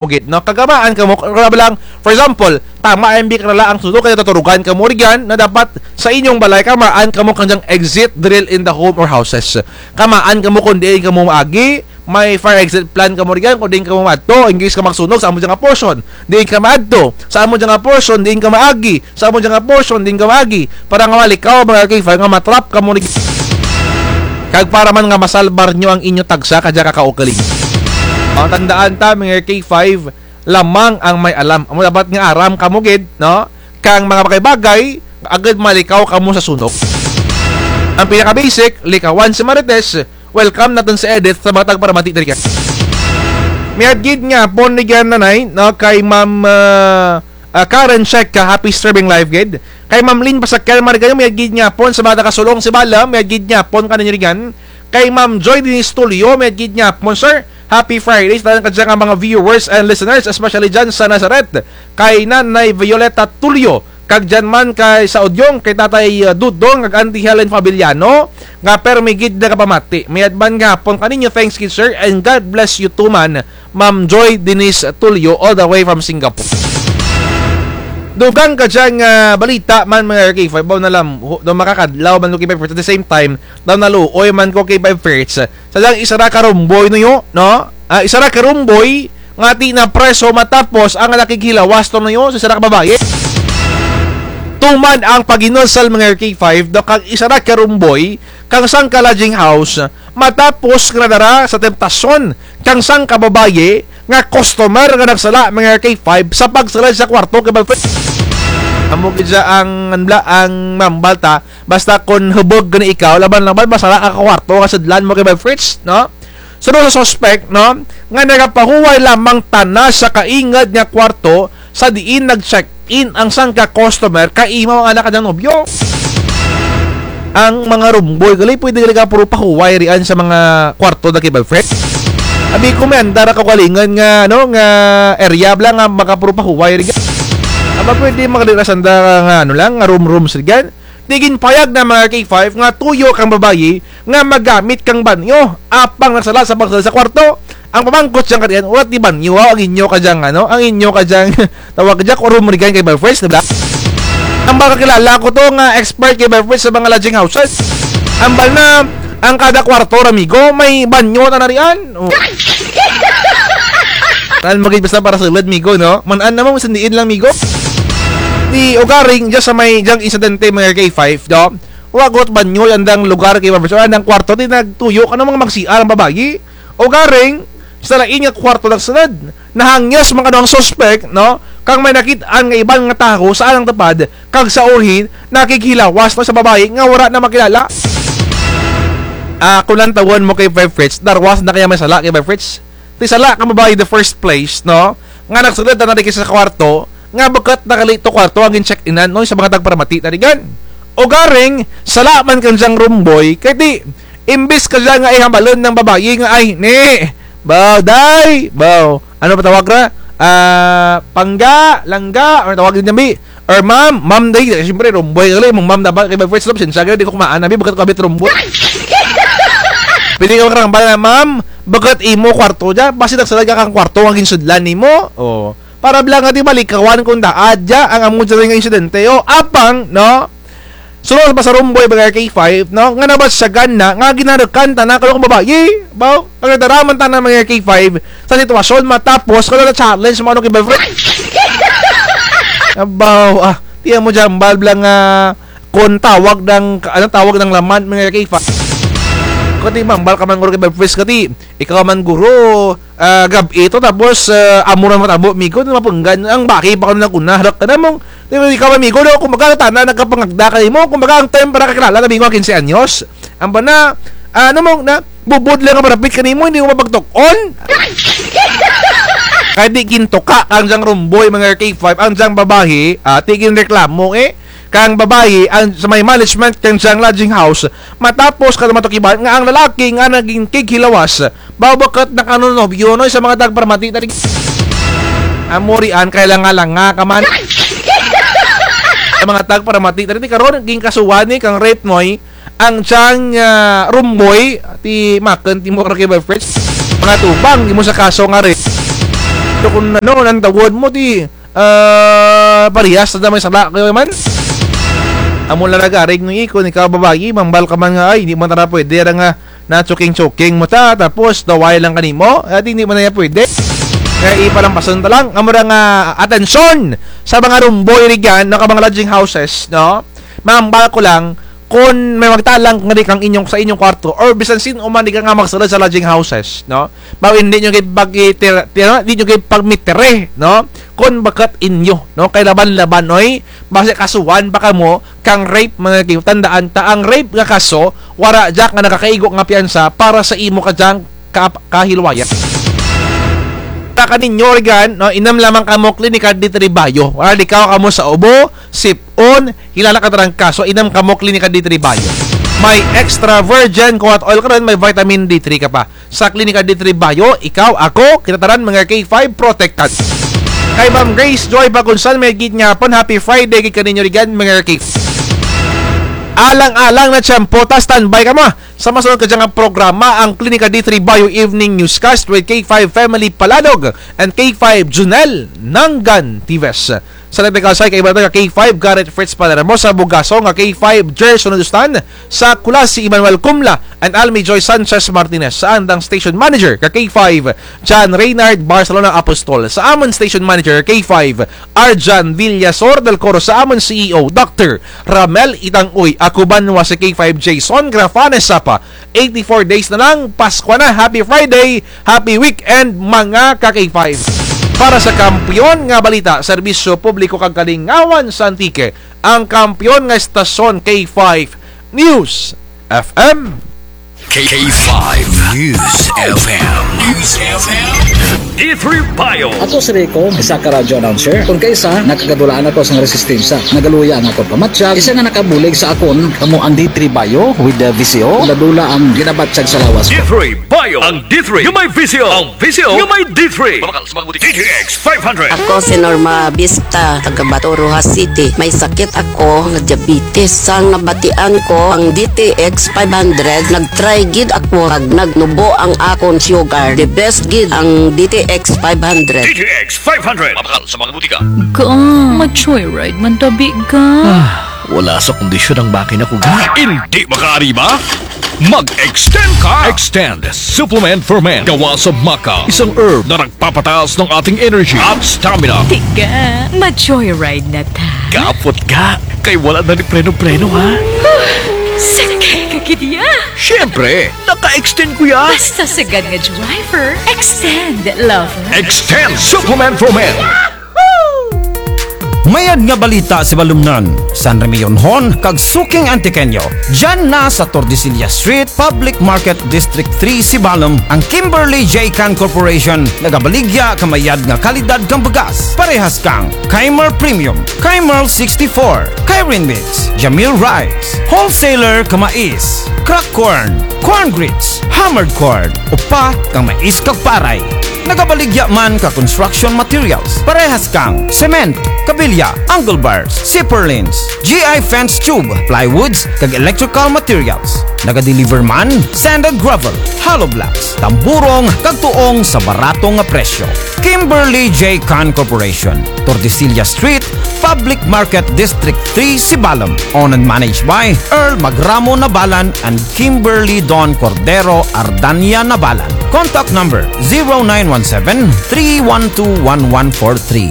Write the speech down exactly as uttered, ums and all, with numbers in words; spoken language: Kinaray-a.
gid, no? Kag kamaan kamo, kag bilang, for example, tama ang biya kinala ang sunog, kaya tuturugan kamo rugyan, na dapat sa inyong balay, kamaan kamo kang dyang exit drill in the home or houses. Kamaan kamo kung diin kamo maagi, may fire exit plan kamo rugyan, kung diin kamo maadto, in case ka magsunog, sa amo dyan nga portion, diin ka maadto, sa amo dyan nga portion, diin ka maagi, sa amo dyan nga portion, diin ka maagi, para nga malikaw, mga R K five, nga matrap kamo rugyan. Kag para man nga masalbar nyo ang inyo tagsa kadya ka kaugaling. Ang tandaan ta, mga R K five, lamang ang may alam. Amo dapat nga aram kamo gid, no? Kang mga bagay-bagay, agud malikaw kamo sa sunog. Ang pinaka-basic, likawan si Marites, welcome natun si Edith sa mga tagparamati diri ka. Mayad gid nga hapon rugyan nanay, no, kay Ma'am, ah, ah, Karen Check ka, happy streaming live gid. Kay Ma'am Lynn Pasakyan, Marigayo, mayad gid nga hapon sa mga taga-Sulong, Sibalom, mayad gid nga hapon kaninyo rugyan. Kay Ma'am Joy Denise Tulio, mayad gid nga hapon, sir. Happy Friday sa tanan kadya nga mga viewers and listeners, especially dyan sa Nazareth. Kay Nanay Violeta Tulio, kag dyan man kay sa Udyong, kay Tatay, uh, Dudong, kag Auntie Helen Fabiliano, nga permi gid nakapamati. Mayad man nga hapon kaninyo, thanks gid, sir, and God bless you too man, Ma'am Joy Denise Tulio, all the way from Singapore. Dugang kadya nga balita man, mga R K five, baw na lang, hu-, daw makakadlaw man ko kay Five Fritz. At the same time, daw naluoy man ko kay Five Fritz. Sa dyang isara ka rumboy nuyo, no? Ah, isara ka rumboy, nga ti napreso matapos ang nakighilawas to nuyo sa isara ka babayi. Tuman ang paginusal, mga R K five, daw kang isara ka rumboy, kang sangka lodging house, matapos nga nadara sa temptasyon kang sangka babayi nga customer nga nagsala, mga R K five, sa pagsulud sa kwarto kay Five Fritz. Amo gid dya ang, ano bala, ang mambal ta, basta kon hubog gani ikaw, laban-laban masala ka kwarto nga sudlan mo kay Five Fritz, no? Sunod sa suspek, no, nga nagapahuway lamang tana sa kaingud nga kwarto sa diin nag-check-in ang sangka customer kay imaw ang anak kang dyang nobyo. Ang mga rumboy gali, pwede gali ka puro pahuway rian sa mga kwarto da kay Five Fritz. Abi ko may anda ra kaugalingun nga, ano, nga area bala nga makapuro pahuway ri. Aba, pwede man gali ra sanda nga, ano lang, nga room-rooms rugyan. Ti ginpayag na, mga R K five, nga tuyo kang babayi nga magamit kang banyo apang nagsala sa pagsulud sa kwarto. Ang pamangkot dyang katian, wara ti banyo, aw, ang inyo kadyang, ano, ang inyo kadyang tawag dya, room rugyan kay Five Fritz, di bala? Ambal kakilala ko to nga expert kay Five Fritz sa mga lodging houses. Ambal na, ang kada kwarto ra, migo, may banyo tana rian. Oh. Tanan mo gid basta para sulud, migo, no? Man-an na mo, masandiin lang, migo. Ti ugaring, dya sa may dyang insidente, mga R K five, do? Wara gud banyo andang lugar kay Five Fritz, andang kwarto, ti nagtuyo kang mga mag-C R ang babayi. Ugaring, sa lain nga kwarto nagsulud. Nahangyos man kano ang suspek, no? Kang may nakit-an nga iban nga tawo sa andang tupad, kag sa uri, nakighilawas na sa babayi nga wara na makilala. Ah, kon lantawun mo kay Five Fritz, darwa sanda kaya may sala kay Five Fritz. Ti sala kang babayi the first place, no? Nga nagsulud na rugya sa kwarto, nga bukut na gali to kwarto ang gin-check-inan, no? Sa mga tagparamati tana rugyan. Ugaring, sala man kang dyang rumboy, kay ti, imbis kadya nga ihambalun ang babayi nga, "Ay, ni, baw, day, baw." Ano pa tawag ra? Ah, pangga, langga, ano tawag dyan, bi? Or ma'am, ma'am, day, siyempre, rumboy gali, mong ma'am dapat kay Five Fritz, no? Pasensya kayo, di ko kumaan, abi, bukut ko abi rumboy. Pwede ka makarambal na, "Ma'am, bukut imo kwarto dya, basi nagsulud ka kang kwarto nga ginsudlan nimo." Oh. Para bala nga ti malikawan kon daa dya ang amo dya nga insidente. O, apang, no? Sunod pa sa rumboy, mga R K five, no? Nga nabatyagan na, nga ginarukan tana kano kang babayi. Baw, pagdadaraman tana, mga R K five, sa sitwasyon, matapos kano na-challenge mo kano kay Five Fritz. Abaw, ah, ti amo dya hambal bala nga, kon tawag ng, ano, tawag ng laman, mga R K five. Kati mambal ka man guro kay Five Fritz, kati, ikaw man guro, ah, gab-i to, tapos, ah, amo ra matabo, migo, na mapunggan, ang baki pa kano nag-una, harak ka na mong, di ba, ikaw, migo, no, kumbaga, tana, nagkapangagda kanimo, kumbaga, ang time para kakilala, na migo, kinse anyos, ang bana, ah, ano mong, na, bubod lang ang marapit kanimo, hindi mo mapagtuk-on. Kay ti gintuka, ang dyang rumboy, mga R K five, ang dyang babayi, ah, ti ginreklamo, eh, kang babayi, ang, sa may management, kang dyang lodging house, matapos kano matukiban, nga ang lalaki, nga nagin kighilawas, baw bukut na kano nobyo, no, sa mga tagparamati, tari-, amo rian, kay langa-langa ka man. Sa mga tagparamati, tari-, ti karon, ginkasuhan ni, kang rape, noy, ang dyang, ah, rumboy, ti makun, ti mo kay Five Fritz. Mga tubang, di mo sa kaso nga rape. Kung ano, nang tawod mo, ti, ah, parehas na may sala kayo man. Amo lang nagarig nung ikon, ikaw babayi, mambal ka man nga, ay, hindi man tara pwede, ra nga, na choking-choking mo ta, tapos, daway lang kanimo, at hindi man na pwede. Kaya ipalampasan ta lang, amo ra nga, atensyon, sa mga rumboy rigyan, na ka mga lodging houses, no? Mambal ko lang, kung may magtalang nga di kang inyong, sa inyong kwarto, or bisan sin-o man di ka nga magsulod sa lodging houses, no? Bawo hindi nyo kay pag-itira-, tira-, di nyo kay pagmitire, no? Kung bakat inyo, no? Kay laban-laban, oy, basi kasuhan pa kamo, kang rape, mga kay, tandaan ta, ang rape nga kaso, wara dya nga nakakaigo nga piyansa para sa imo kadyang ka-, kahilwayan. Ta kaninyo, organ, no? Inam lamang kamo Clinica D three Bio. Wala di ka kamo sa ubo, sip-on, hilala ka tarang kaso, inam kamo Clinica D three Bio. May extra virgin coconut oil ka rin, may vitamin D three ka pa. Sa Clinica D three Bio, ikaw, ako, kita taran mga K five protected. Kay Ma'am Grace Joy Bagunsan, may gid nga pon, happy Friday, gid kaninyo rigan, mga K five. Alang-alang na tiyempo ta, standby ka mo. Sa masunod ka dyan nga programa, ang Clinica D three Bio Evening Newscast with K five Family Paladog and K five Junel Nanggan Tives. Sa Nagdakasay, kay Brother K five, Garrett Fritz Palermo, sa Bugaso nga K five, Gerson Udustan, sa Culasi, Emmanuel Cumla, and Almi Joy Sanchez Martinez, sa andang station manager ka K five, John Reynard Barcelona Apostol, sa amun station manager K five, Arjan Villasor del Coro, sa amun C E O, Doctor Ramel Itangoy, ako banwa si K five, Jason Grafanes Sapa, eighty-four days na lang, Pasko na. Happy Friday, happy weekend, mga ka-K five. Para sa kampiyon nga balita, serbisyo publiko kag kalingawan sa Antique, ang kampiyon nga estasyon K five News F M. K five News F M. News F M. D three Bio. Ako si Rico, isa ka radyo announcer. Kon kaisa, nakagadulaan ako sa resistensya. Nagaluya ang akon pamatyag. Isa nga nakabulig sa akon, kamo ang D three Bio with the V C O. Dula-dula ang ginabatyag sa lawas ko. D three Bio. Ang D three nga may V C O. Ang V C O nga may D three. Mabakal sa mga butika. D T X five hundred. Ako si Norma Vista, taga Bato, Roxas City. May sakit ako nga diabetes. Sa nabatian ko ang D T X five hundred, nag-try gid ako kag nagnubo ang akon sugar. The best gid ang D T X five hundred. D T X five hundred. Mabakal sa mga butika. Ga, ma-joyride man tabi, ga. Ah, wala sa kondisyon ang makina ko, ga. Hindi makaari ba? Mag-extend ka! Extend Supplement for Men. Gawa sa maca, isang herb na nagpapataas ng ating energy at stamina. Tiga, ma-joyride na ta. Kapot ga, kay wala na ni preno-preno, ha? Sakay ka gid ya. Siyempre, naka-extend ko ya. Basta sagad nga driver, extend, lover. Extend Supplement for Men. Mayad nga balita, Sibalomnon, San Remillon-hon kag suking Antiqueño. Dyan na sa Tordesillas Street, Public Market, District three, Sibalom, ang Kimberly J Can Corporation, nagabaligya ka mayad nga kalidad kang bugas. Parehas kang Keimer Premium, Keimer sixty-four, Keirin Mix, Jamil Rice, Wholesaler ka mais, crack corn, corn grits, hammered corn, upa kang mais kag paray. Nagabaligya man ka construction materials, parehas kang cement, kabilya, angle bars, zipper lines, G I fence tube, plywoods, kag electrical materials. Nagadeliver man, sand and gravel, hollow blocks, tamburong, kag tuong sa barato nga presyo. Kimberly J Can Corporation, Tordesillas Street, Public Market, District three, Sibalom. Owned and managed by Earl Magramo Nabalan and Kimberly Don Cordero Ardania Nabalan. Contact number zero nine one seven, three one two, one one four three.